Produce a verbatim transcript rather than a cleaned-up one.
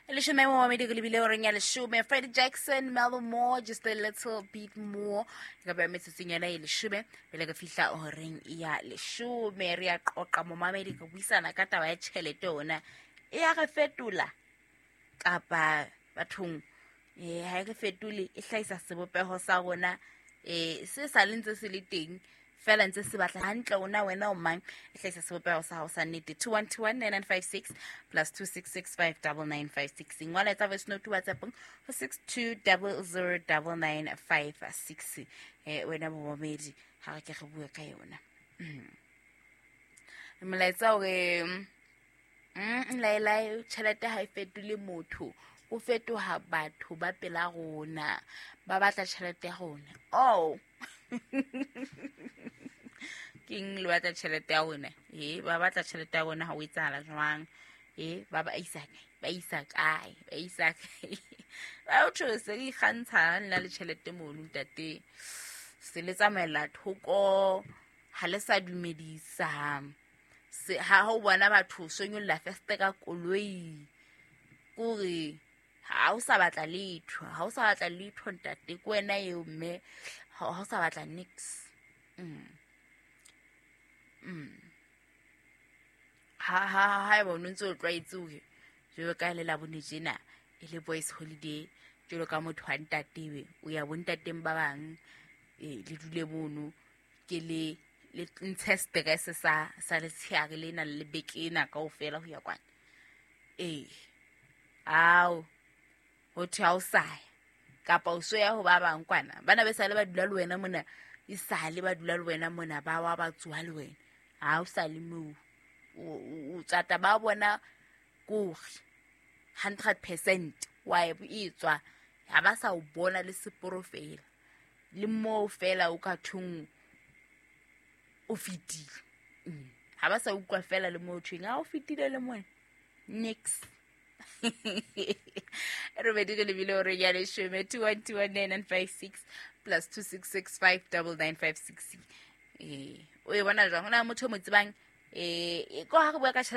Leshome momamedi, re lebile horeng ya leshome. Freddie Jackson, Mellow More, Just a Little Bit More. Ka ba metsotsong yona e leshome pele re fihla horeng ya leshome. Re ya qoqa, momamedi, re buisana ka taba ya tjhelete ona. E ya re fetola kapa bathong eh ha e re fetole, e hlahisa sebopeho sa rona eh se sa le ntse se le teng fela, ntse se batla hantle ona. Wena o mang? E hlahisa sebopeho sa hao sa nnete. Two one two one nine nine five six plus two six six five double nine five six. Ngola, etsa voice note WhatsApp ho six two double zero double nine five six. eh wena momamedi, ha re ke re bue ka yona. Molaetsa o re mm laelae, tjhelete ha e fetole motho, o fetoha batho ba pela rona ba batla tjhelete ya rona. Oh, keng le batla tjhelete ya rona? E ba batla tjhelete ya rona, ha o etsahala jwang? E ba ba isa kae? Ba isa kae? Ba isa kae? Ba o se re ikgantsha nna le tjhelete mono, ntate, se le tsamaela thoko, ha le sa dumedisa. Se ha o bona batho sonyolla feste ka koloi, kore ha o sa batla letho, ha o sa batla letho, ntate, ke wena eo, mme ha o sa batla nix. mm. Mm. ha ha ha eba o ntse o tlwaetse hore jwalo ka le Labone tjena e le boys holiday, jwalo ka motho wa ntatebe, o ya bontateng ba bang, eh le dule mono, ke le le ntshe stress sa sa letsheare lena le beke ena kaofela ho ya kwana. Ee, ao ho thwe ha o sa ya kapa o so ya ho ba bang kwana, bana be sale ba dula le wena mona, e sale ba dula le wena mona, ba wa ba tsoha le wena, ha o sa le moo, o tsata ba bona kore hundred percent wa e tswa, ha ba sa o bona le seporo fela le moo fela o ka thong o fetile. mm. Ha ba sa utlwa fela le moo thweng ha o fetile le mona nix. Robedi re lebile hore ya leshome. Two one two one nine nine five six plus two six six five double nine five six. Eh, o e bona jwang? Ho na motho o mo tsebang eh ko ha re bua ka tjhelete?